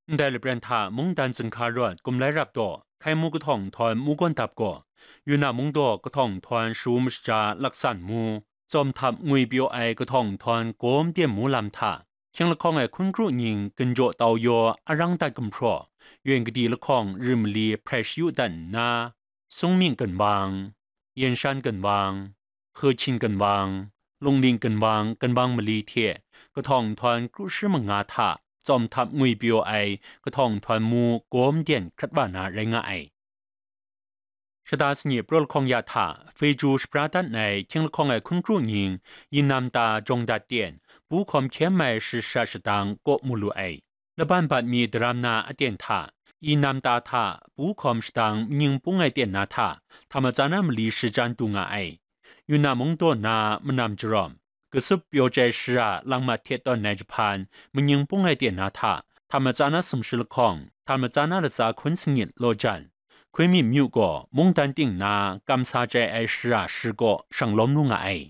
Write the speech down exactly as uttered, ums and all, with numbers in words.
Ndai lapren hta mungdan zinghka rawt Kumlai Rap daw, Hkai Mu kahtawng nhtawm mu gawn dap gaw, Yunnan mung daw kahtawng nhtawm Shu mashaja Laksan mu, Tsawm Htap ngwi pyaw ai kahtawng nhtawm Gawm Dyen mu lam hta, hkying lahkawng ai hkun kru nying ginjaw tau yaw arang dat gumhpraw, yen kadi lahkawng rim mali hprai shayu dat nna, Sungmying ginwang, Yenshan ginwang, Hehchin ginwang, Lungling ginwang, ginwang mali hte kahtawng nhtawm kru shi manga hta Tsawm Htap ngwi pyaw ai kahtawng nhtawm mu Gawm Dyen hkrat wa na rai nga ai. Shata sanit praw lahkawng ya hta, Feju shapra dat ai hkying lahkawng ai hkun kru nying, Yinam ta jawng dat ten, pu hkawm hkyem ai shasha shadang kaw mu lu ai. Laban bat mi daram na aten hta, Yinam ta hta, pu hkawm shadang manying pung ai ten na hta, Htamatsa na mali shajan du nga ai. Yunnan mung daw na manam jarawm, Kasup pyaw chyai shara langmat hte tawn ai jahpan, manying pung ai ten na hta, Htamatsa na sumshi lahkawng, Htamatsa na latsa hkun sangit law jan, Hkuimim myu gaw mungdan ting na kamsa chyai ai shara shi kaw shang lawm lu nga ai.